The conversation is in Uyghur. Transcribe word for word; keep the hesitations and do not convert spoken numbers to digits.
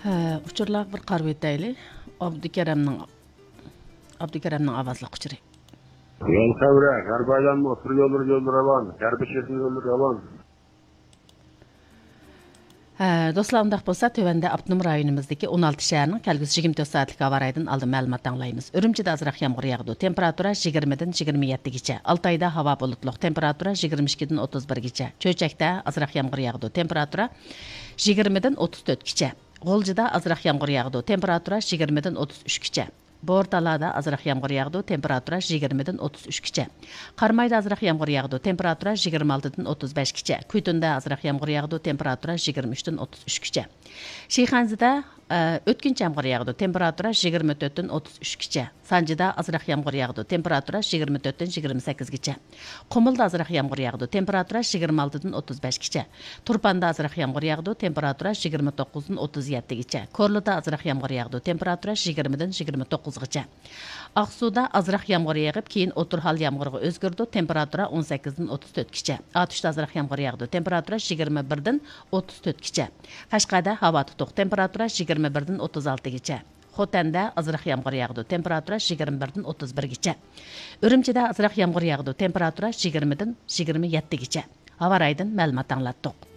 ھە، ئۇچۇرلارغا بىر قارىۋېتەيلى. ئابدۇكېرەمنىڭ، ئابدۇكېرەمنىڭ ئاۋازلىق ئۇچۇرى. يول خەۋىرى، غەربىي ئايلانما ئوتتۇرا يوللىرى، يوللىرى راۋان، غەربىي چېچەن يوللىرى راۋان. ھە، دوستلار، ئۇنداق بولسا، تۆۋەندە ئاپتونوم رايونىمىزدىكى ئون ئالتە شەھەرنىڭ كەلگۈسى يىگىرمە تۆت سائەتلىك ھاۋا رايىدىن ئالدىن مەلۇمات ئاڭلايمىز. ئۈرۈمچىدە ئازراق يامغۇر ياغىدۇ، تېمپېراتۇرا يىگىرمىدىن يىگىرمە يەتتىگىچە. ئالتايدا ھاۋا بۇلۇتلۇق، تېمپېراتۇرا يىگىرمە ئىككىدىن ئوتتۇز بىرگىچە. چۆچەكتە ئازراق يامغۇر ياغىدۇ، تېمپېراتۇرا يىگىرمىدىن ئوتتۇز تۆتكىچە. غۇلجىدا ئازراق يامغۇر ياغىدۇ، تېمپېراتۇرا يىگىرمىدىن ئوتتۇز ئۈچكىچە. بورتالادا ئازراق يامغۇر ياغىدۇ، تېمپېراتۇرا يىگىرمىدىن ئوتتۇز ئۈچكىچە. قارامايدا ئازراق يامغۇر ياغىدۇ، تېمپېراتۇرا يىگىرمە ئالتىدىن ئوتتۇز بەشكىچە. كۈيتۇندا ئازراق يامغۇر ياغىدۇ، تېمپېراتۇرا يىگىرمە ئۈچتىن ئوتتۇز ئۈچكىچە. شىخەنزىدە، ئە، ئۆتكۈنچى يامغۇر ياغىدۇ، تېمپېراتۇرا يىگىرمە تۆتتىن ئوتتۇز ئۈچكىچە. سانجىدا ئازراق يامغۇر ياغىدۇ، تېمپېراتۇرا يىگىرمە تۆتتىن يىگىرمە سەككىزگىچە. قۇمۇلدا ئازراق يامغۇر ياغىدۇ، تېمپېراتۇرا يىگىرمە ئالتىدىن ئوتتۇز بەشكىچە. تۇرپاندا ئازراق يامغۇر ياغىدۇ، تېمپېراتۇرا يىگىرمە توققۇزدىن ئوتتۇز يەتتىگىچە. كورلىدا ئازراق يامغۇر ياغىدۇ، تېمپېراتۇرا يىگىرمىدىن يىگىرمە توققۇزغىچە. ئاقسۇدا ئازراق يامغۇر يېغىپ، كېيىن ئوتتۇرا ھال يامغۇرغا ئۆزگىرىدۇ، تېمپېراتۇرا ئون سەككىزدىن ئوتتۇز تۆتكىچە. ئاتۇشتا ئازراق يامغۇر ياغىدۇ، تېمپېراتۇرا يىگىرمە بىردىن ئوتتۇز تۆتكىچە. قەشقەردە ھاۋا تۇتۇق، تېمپېراتۇرا يىگىرمە بىردىن ئوتتۇز ئالتىگىچە. خوتەندە ئازراق يامغۇر ياغىدۇ، تېمپېراتۇرا يىگىرمە بىردىن ئوتتۇز بىرگىچە. ئۈرۈمچىدە ئازراق يامغۇر ياغىدۇ، تېمپېراتۇرا يىگىرمىدىن يىگىرمە يەتتىگىچە. ھاۋا رايىدىن مەلۇمات ئاڭلاتتۇق.